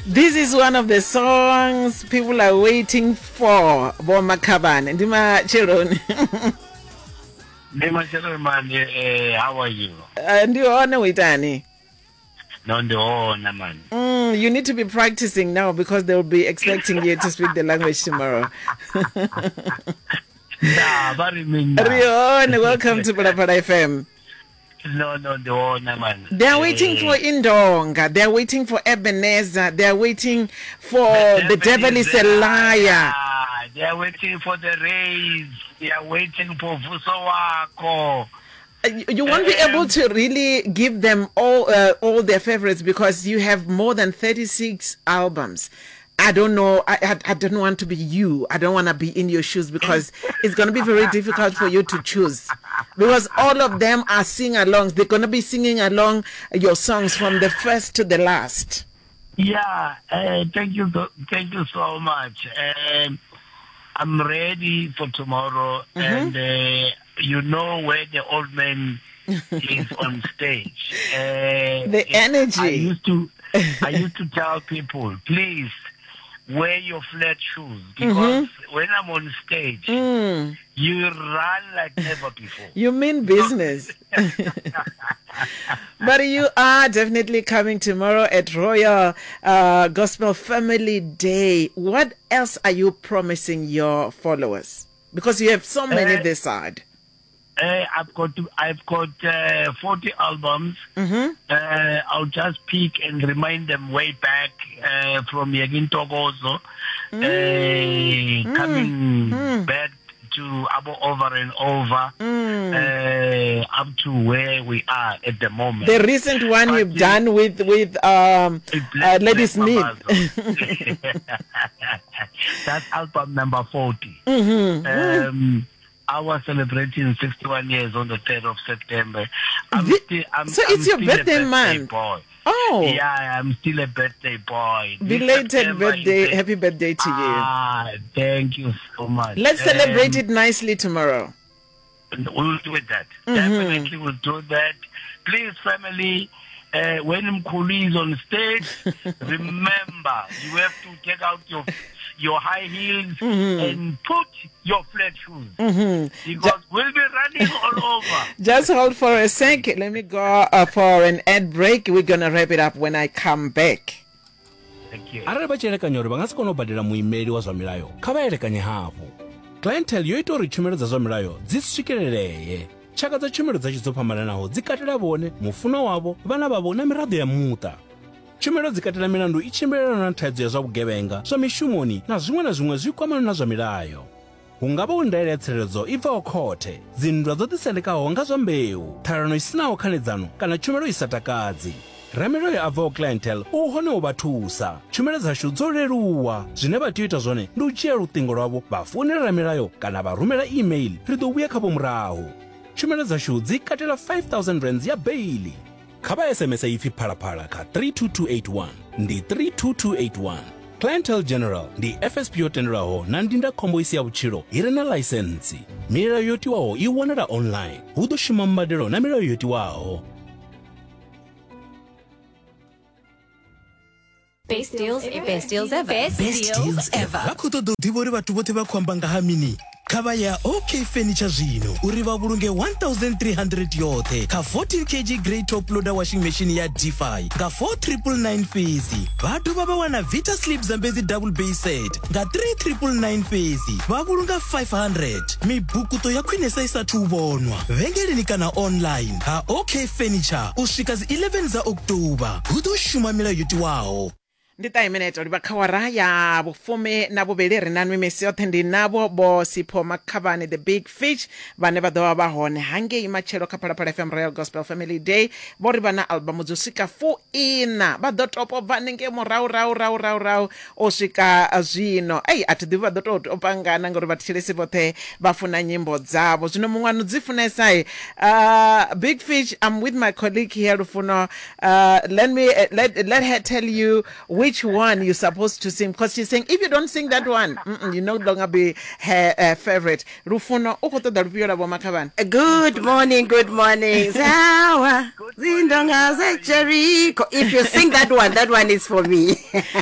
This is one of the songs people are waiting for. Bo Makhabane. Ndi matsheloni. Ndi matsheloni mani, eh, how are you? Ndi hone u itani? No, ndi hone mani. You need to be practicing now because they will be expecting you to speak the language tomorrow. Nda, vha ri mina. Ri hone, welcome to Phalaphala FM. No, no, ndi hone mani. They are waiting for Indonga. They are waiting for Ebenezer. They are waiting for The Devil is a Liar. They are waiting for the race. They are waiting for Vuso Wako. You won't be able to really give them all their favorites because you have more than 36 albums. I don't know. I don't want to be you. I don't want to be in your shoes because it's going to be very difficult for you to choose. Because all of them are sing-alongs. They're going to be singing along your songs from the first to the last. Yeah, thank you. Thank you so much. I'm ready for tomorrow, and you know where the old man is on stage. The energy. I used to tell people, please wear your flat shoes because when I'm on stage, you run like never before. You mean business. But you are definitely coming tomorrow at Royal Gospel Family Day. What else are you promising your followers? Because you have so many this side. I've got 40 albums. I'll just pick and remind them way back from Yegin Togozo, coming back to Abo Over and Over, up to where we are at the moment. The recent one But you've done with Lady Smith. That's album number 40. I was celebrating 61 years on the 3rd of September. So I'm it's your still a birthday birthday month. boy. Oh. Yeah, I'm still a birthday boy. This Belated September is birthday. a Happy birthday to you. Thank you so much. Let's celebrate it nicely tomorrow. We'll do that. Definitely we'll do that. Please, family, when Mkhulu is on stage, remember, you have to take out your high heels and put your flat shoes. Because we'll be running all over. Just hold for a sec. Let me go for an ad break. We're going to wrap it up when I come back. Thank you. Arali vha tshi elekanya uri vha nga si kone u badela muimeli wa zwa milayo, kha vha elekanye hafhu. Clientele yo ita uri tshumelo dza zwa milayo dzi swikelelee. Tshaka dza tshumelo dzashu dzo fhambananaho dzi katela vhone, mufunwa wavho, vhana vhavho na miraḓo ya muṱa. Tshumelo dzi katela milandu i tshimbilelanaho na thaidzo ya zwa vhugevhenga, zwa mishumoni na zwiṅwe na zwiṅwe zwi kwamanaho na zwa milayo. Hu nga vha hu ndaela ya tsireledzo i bvaho khothe, dzinndwa dzo ḓisendekaho nga zwa mbeu, ṱhalano i sinaho khanedzano kana tshumelo i sa takadzi. Ramilayo a bvaho Clientele u hone u vha thusa. Tshumelo dzashu dzo leluwa. Zwine vha tea u ita zwone ndi u dzhia luṱingo lwavho vha founela ramilayo kana vha rumela email, ri ḓo vhuya khavho murahu. Tshumelo dzashu dzi katela 5000 rands ya beiḽi. Kha vha SMS ipfi Phalaphala kha 32281, ndi 32281. Clientele General ndi FSP yo tendelwaho na ndindakhombo i si ya vhutshilo i re na ḽaisentsi. Milayo yo tiwaho i wanala online. Hu ḓo shuma mbadelo na milayo yo tiwaho. Best deals ever. Best deals ever. Best deals ever. Vha khou ṱoḓa u ḓivha uri vhathu vhoṱhe vha khou amba nga ha mini? Kha vha ya OK Furniture zwino uri vha vhulunge 1300 yoṱhe kha 14 kg grey top loader washing machine ya Defy nga 4999 fhedzi. Vha dovha vha wana Vita Sleep Zambezi double bay set nga 3999 fhedzi, vha vhulunga 500. Mibukuṱo ya khwinesa i sathu u vhonwa vhengeleni kana online ha OK Furniture u swika dzi 11 dza October. Hu ḓo shuma milayo yo tiwaho. Ndi ṱahe minete livha kha awara ya vhufumi na vhuvhili. Ri na nwi misi yoṱhe, ndi navho Vho Sipho Makhavhane, the Big Fish, vhane vha ḓo vha vha hone hangei matshelo kha Phalaphala FM Royal Gospel Family Day. Vho ri vha na albamu dzo swika fuiṋa, vha ḓo topo bva hanengei murahu rahu rahu rahu rahu u swika zwino. Ei, a thi ḓivhi vha ḓo tou topa ngana ngauri vhathetshelesi vhoṱhe vha funa nyimbo dzavho. Zwino muṅwe ano dzi funesa, Big Fish, I'm with my colleague here, Lufuno. Let me let her tell you which which one you're supposed to sing because she's saying if you don't sing that one, you no longer be her favorite. Lufuno, u khou ṱoḓa lufhio lwa Vho Makhavhane? Good morning, good morning. Zawa, zindonga ze Jericho. If you sing that one, that one is for me.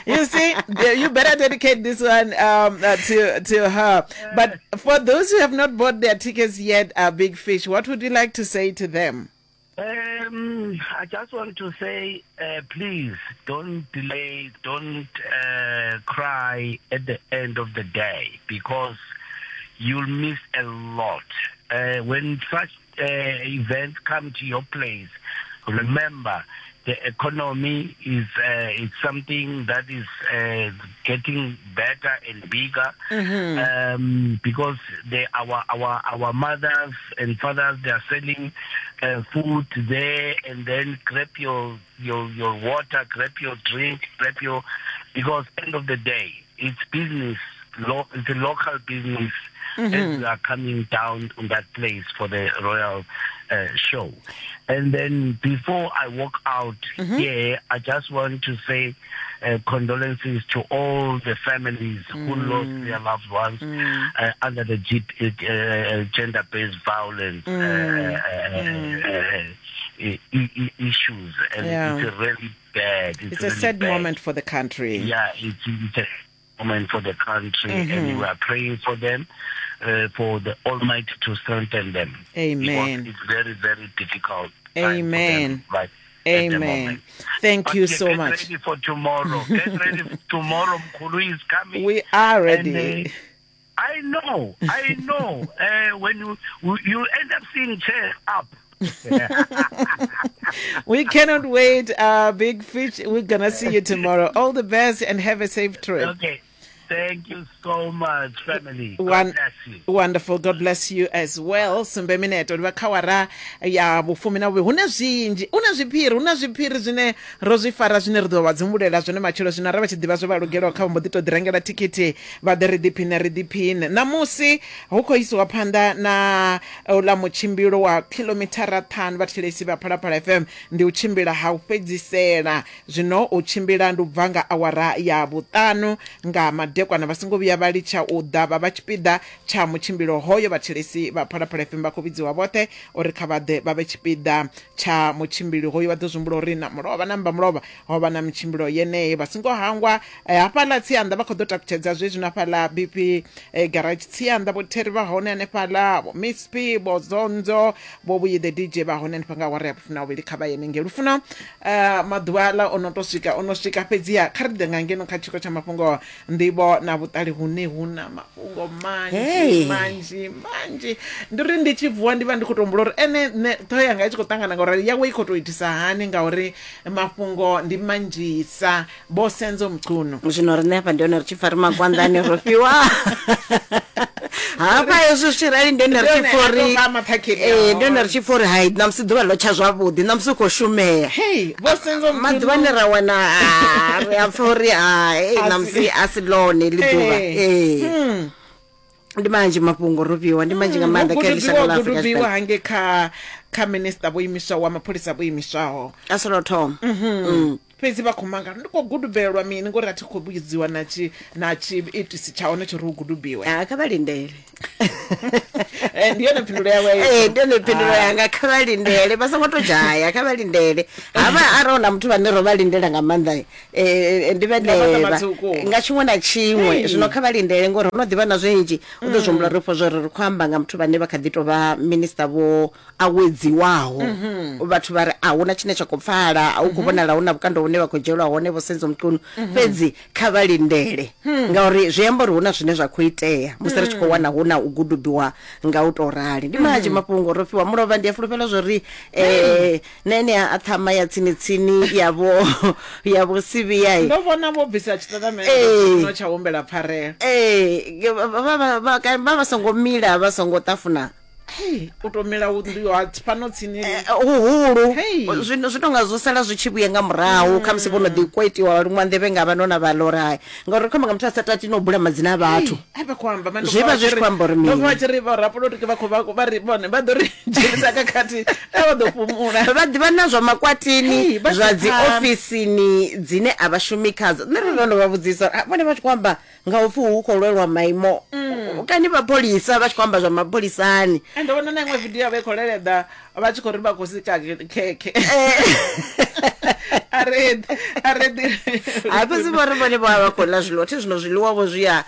You see, you better dedicate this one to her. But for those who have not bought their tickets yet, Big Fish, what would you like to say to them? I just want to say, please don't delay, don't cry at the end of the day, because you'll miss a lot. When such events come to your place, remember the economy is it's something that is getting better and bigger, because our mothers and fathers, they are selling food there, and then grab your water, grab your drink, grab your, because end of the day it's business, it's a local business. As we are coming down on that place for the royal show. And then before I walk out here, I just want to say condolences to all the families who lost their loved ones under the gender-based violence issues. And it's really bad. It's really a sad bad moment for the country. Yeah, it's a moment for the country, and we are praying for them, for the Almighty to strengthen them. Amen. Because it's very, very difficult. Amen. Them, right. Amen. Thank but you so get much. Get ready for tomorrow. Get ready for tomorrow. Mkhulu is coming. We are ready. And, I know. I know. When you end up seeing chairs up. We cannot wait, Big Fish. We're gonna see you tomorrow. All the best and have a safe trip. Okay. Thank you so much, family. God bless you. Wonderful. God bless you as well. Sumbe mineto ndi khawara ya vhufumi na vhuvhili. Huna zwinzhi, huna zwiphiri, huna zwiphiri zwine ro zwi fara zwine ri ḓo vha dzumbulela zwone matshelo. Zwino ra vha tshi ḓivha zwo vha lugelaho kha vha mbo ḓi to ḓi rengela thikhithi vha ḓe ri ḓiphine ri ḓiphine. Ṋamusi hu khou isiwa phanḓa na uḽa mutshimbilo wa kilomithara 5 vhathetshelesi vha Phalaphala FM. Ndi u tshimbila ha u fhedzisela. Zwino u tshimbila ndi u bva nga awara ya 5 nga madekwana, vha songo vhuya vha litsha u ḓa vha vha tshipiḓa tsha mutshimbilo hoyo. Vhathetshelesi vha Phalaphala FM vha khou vhidziwa vhoṱhe uri kha vha ḓe vha vhe tshipiḓa tsha mutshimbilo hoyo. Vha ḓo zwihumbula uri na mulovha na mbamulovha ho vha na mitshimbilo yeneyo. Vha songo hangwa hafhaḽa Tsianda vha khou ḓo takutshedza zwezwi na hafhaḽa BP garage Tsianda, vho Terry vha hone hanefhaḽa, vho Miss P, vho Zonzo, vho Vhuyi the DJ vha hone hanefha nga awara ya 12. Kha vha yene ngei Lufuno. Maḓuvha aḽa o no to swika, o no swika fhedziha kha ri ḓe nga ngeno kha tshiko tsha mafhungo nḓivho na vhuṱali hune hu na mafhungo manzhi manzhi manzhi. Ndi uri ndi tshi vuwa ndi vha ndi khou to humbula uri ene nṋe ṱhoho yanga i tshi khou ṱangana ngauri yawe i khou to itisa hani, ngauri mafhungo ndi manzhisa. Vho Senzo Mchunu. Zwino riṋe hafha ndi hone ri tshi pfa ri magwanḓani ro fhiwa hafha hezwi zwi tshi rali, ndi hone ri tshi pfa uri ndi hone ri tshi pfa uri hai ṋamusi ḓuvha ḽo tsha zwavhuḓi, ṋamusi u khou shumea. Hey, Vho Senzo Mchunu. Maḓuvha ane ra wana ri a pfa uri hai ṋamusi a si ḽone ḽi ḓuvha. Ee. Ndi manzhi mafhungo ro fhiwa, ndi manzhi nga maanḓa kha shango ḽa Afrika Tshipembe. Hange kha minister vho imiswaho wa mapholisa vho imiswaho. A si lwo thoma. Fhedzi vha khou mangala, ndi khou gudubelwa mini ngori a thi khou vhudziwa na tshiitisi tsha hone tshi ri u gudubiwe. Kha vha lindele. Ndi yone phindulo yawe. Ndi yone phindulo yanga, kha vha lindele, vha songo to dzhaya, kha vha lindele. Havha arali na muthu vhane ro vha lindela nga maanḓa ndi vhenevha nga tshiṅwe na tshiṅwe. Zwino kha vha lindele ngori ho no ḓivha na zwinzhi. U ḓo zwi humbula ri fho zwo ri khou amba nga muthu vhane vha kha ḓi tou vha minister vho awedziwaho. Vhathu vha ri a huna tshine tsha khou pfala, a hu khou vhonala hu na vhukando hune vha khou dzhielwa hone Vho Senzo Mchunu. Fhedzi kha vha lindele ngauri zwi amba uri hu na zwine zwa khou itea musi ri tshi khou wana hu na u gudubiwa nga u tou rali. Ndi manzhi mafhungo ro fhiwa mulovha, ndi a fulufhela zwori na ene a ṱhama ya tsini tsini ya vho Sivhiya. Ndo vhona vho bvisa tshitatamennde tsha humbela pfarelo. Vha vha songo mila, vha songo ṱafuna. Hey, u to mila nnḓu yo fhano tsini eh, huhulu zwino zwi tonga zwo sala zwi tshi vhuya nga murahu mm. khamusi vho no ḓi kwetiwa vha luṅwa nḓevhe nga vha nona vha ḽa hai ngauri khomba nga muthu a sa tati no bula madzina a vhathu zwi vha zwi tshi khou amba uri mini vha tshi ri vhorapolotiki vha khou vha ri vhone vha ḓo ri dzhenisa khakhathi a vha ḓo fhumula vha ḓivha na zwa makwatini zwa dzi ofisini dzine a vha shumi khadzo nṋe ro no vha vhudzisa vhone vha tshi khou amba nga upfi hu khou lwelwa maimo mm. kani mapholisa vha tshi khou amba zwa mapholisani ende vhona na iṅwe video vha i khou leleḓa vha tshi khou ri vha khou sika khekhe eh. a fhedzi vho ri vhone vho vha vha khou ḽa zwiḽiwa thi zwino zwiḽiwa vho zwi a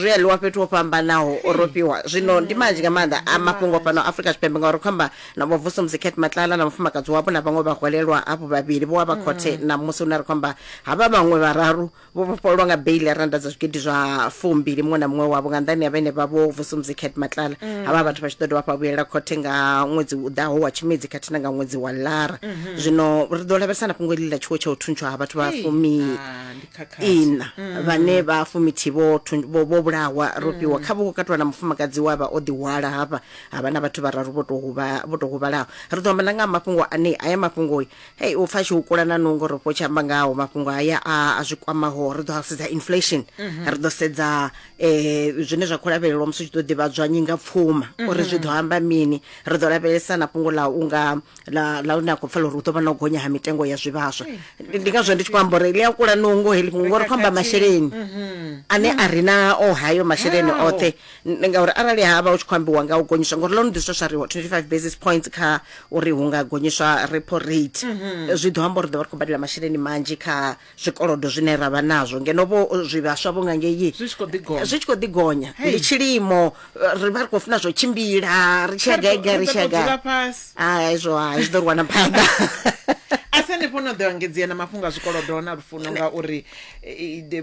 zwi a ḽiwa fhethu ho fhambanaho ro fhiwa zwino ndi manzhi nga maanḓa a mafhungo fhano Afrika Tshipembe ngauri khou amba na vho Vusumuzi Cat Matlala na mufumakadzi wavho na vhaṅwe vhahwelelwa hafho vhavhili vho vha khothe na musi hune ri khou amba havha vhaṅwe vhararu Vho vhofhololwa nga beiḽi ya rannda dza zwigidi zwa fumbili muṅwe na muṅwe wavho nga nnḓani ha vhene vha Vho Vusumuzi Cat Matlala. Havha vhathu vha tshi ḓo dovha hafhu vha vhuyelela khothe nga ṅwedzi u ḓaho wa Tshimedzi khathihi na nga ṅwedzi wa Lara. Zwino ri ḓo lavhelesa na fhungo iḽi ḽa tshiwo tsha u thuntshwa ha vhathu vha Hei, fumi ah, ndi khakhathi. iṋa vhane vha fumithihi vho thun- vho vho vhulawa ro fhiwa kha vho katelwa na mufumakadzi we a vha o ḓihwala hafha ha vha na vhathu vhararu vho tou huvha vho tou huvhalaho. Ri ḓo amba na nga ha mafhungo ane aya mafhungo Hei, u pfa a tshi hukula na nungo ro fho tshi amba ngaho mafhungo haya a a zwi kwamaho ri ḓo sedza inflation mm -hmm. ri ḓo sedza eh, zwine zwa khou lavhelelwa musi tshi ḓo ḓivhadzwa nyinga pfuma mm -hmm. uri zwi ḓo amba mini ri ḓo lavhelesa na fhungo ḽa unga ḽa ḽa une a khou pfela uri hu ḓo vha na u gonya ha mitengo ya zwivhaswa ndi ngazwo ndi tshi khou amba uri ḽi a kula nungo heḽi fhungo ngori khou amba masheleni mhm. ane a ri na o hayo masheleni oṱhe ngauri arali ha vha hu tshi khou ambiwa nga u gonyiswa ngori ḽo no ḓiswa swa ri 25 basis points kha uri hu nga gonyiswa repo rate mm -hmm. zwi ḓo amba uri ḓo vha ri khou badela masheleni manzhi kha zwikolodo zwine ra vha nazwo ngeno vho zwivhaswa vho nga ngei zwi tshi khou ḓi gonya zwi tshi khou ḓi gonya ndi tshilimo ri vha ri khou funa zwo tshimbila ri tshi ya gai gai ri tshi ya gai hai hezwo hai zwi ḓo ri wana phanḓa a si hanefho no ḓo engedzea na mafhungo a zwikolodo na lufuno ngauri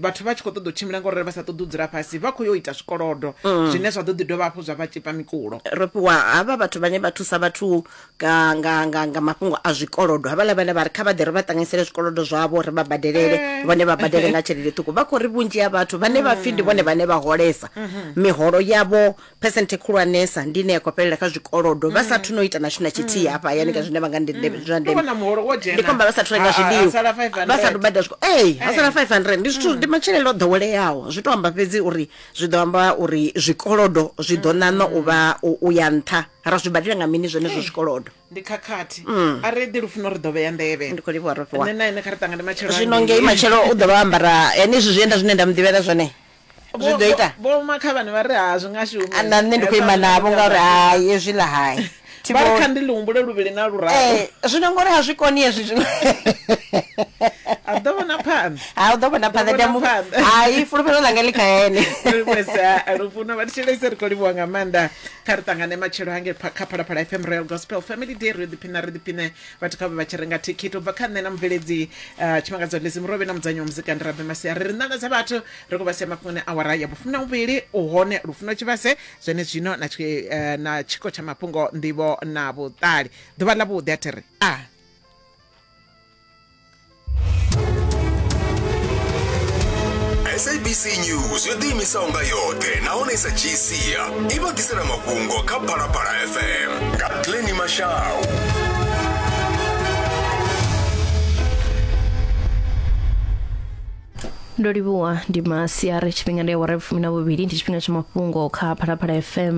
vhathu vha tshi khou ṱoḓa u tshimbila ngauri vha sa ṱoḓi u dzula fhasi vha khou yo ita zwikolodo mm. zwine zwa ḓo ḓi dovha hafhu zwa vha tshipa mikulo ro fhiwa havha vhathu vhane vha thusa vhathu nga nga nga nga mafhungo a zwikolodo havhaḽa vhane vha ri kha vha ḓe ri vha ṱanganyisele zwikolodo zwavho ri vha badelele eh. vhone vha badele nga tshelede ṱhukhu vha khou ri vhunzhi ha vhathu vhane vha pfhi ndi vhone mm. vhane vha holesa mm-hmm. miholo yavho phesenthe khulwanesa ndi ine ya khou fhelela kha zwikolodo vha sathu no ita na tshithu na tshithihi hafha hayani ka zwine vha nga ndi zwa ndeme Wana muholo wo dzhena. ndi khou amba vha sathu renga Ha- ha- zwiḽiwa ha sala 500. vha sathu badela zwikolo ee ha sala 500 ndi zwithu ndi matshilele o ḓoweleaho zwi to amba fhedzi uri zwi ḓo amba uri zwikolodo zwi ḓo ṋaṋa u vha u u ya nṱha ra zwi badela nga mini zwenezwo zwikolodo Ndi khakhathi. A ri ḓi lufuno ri ḓo vhea nḓevhe. Ndi khou livhuwa Rofhiwa. Nṋe na ene kha ri ṱangane matshelo Zwino hangei. ngei matshelo u ḓo vha o ambara henezwi zwienda zwine nda mu ḓivhela zwone zwi ḓo ita vho makhavhane vha ri ha zwi nga shumi Ah, na nṋe ndi khou ima navho ngauri hai hezwiḽa hai Thi vha ri vhoni. kha ndi ḽi humbule luvhili na luraru Eh, zwino ngori ha zwi koni hezwi zwiṅwe a ḓo vhona phanḓa ha u ḓo vhona phanḓa vhona ndi a mu- phanḓa. hai fulufhelo ḽanga ḽi kha ene livhuwesa lufuno vha thetshelese ri khou livhuwa nga maanḓa kha ri ṱangane matshelo hangei kha phalaphala fm royal gospel family day ri ḓiphina ri ḓiphine Vhathu kha vhe vha tshi renga thikhithi u bva kha nṋe na mubveledzi uh, Tshimangadzo Lizzy Murovhi na mudzanyi wa muzika ndi Rabe Masia. Ri ri ṋanga dza vhathu ri khou vha sia mafhungoni awara ya vhufumi na vhuvhili u hone Lufuno Tshivhase zwenezwino na, tshi, uh, na tshiko tsha mafhungo nḓivho na vhuṱali. Ḓuvha ḽa vhuḓi a thi ri a SABC News yo ḓiimisaho nga yoṱhe nahone i sa dzhii sia i vha ḓisela mafhungo kha Phalaphala FM nga Glenny Mashau. Ndo livhuwa ndi masiari tshifhinga ndi awara ya vhufumi na vhuvhili ndi tshifhinga tsha mafhungo kha Phalaphala FM.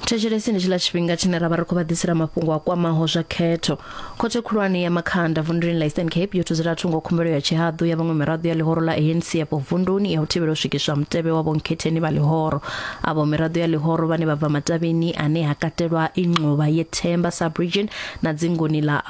Thetshelesi ndi tshiḽa tshifhinga tshine ra vha ri khou vha ḓisela mafhungo a kwamaho zwa khetho. Khothe khulwane ya Makhanda vunduni ḽa Eastern Cape yo thuzela thungo khumbelo ya tshihaḓu ya vhaṅwe miraḓo ya ḽihoro ḽa ANC afho vunduni ya u thivhela u swikiswa mutevhe wa vhonkhetheni vha ḽihoro. Avho miraḓo ya ḽihoro vhane vha bva matavhini ane ha katelwa Ingxuba yeThemba sub-region na dzinguni ḽa.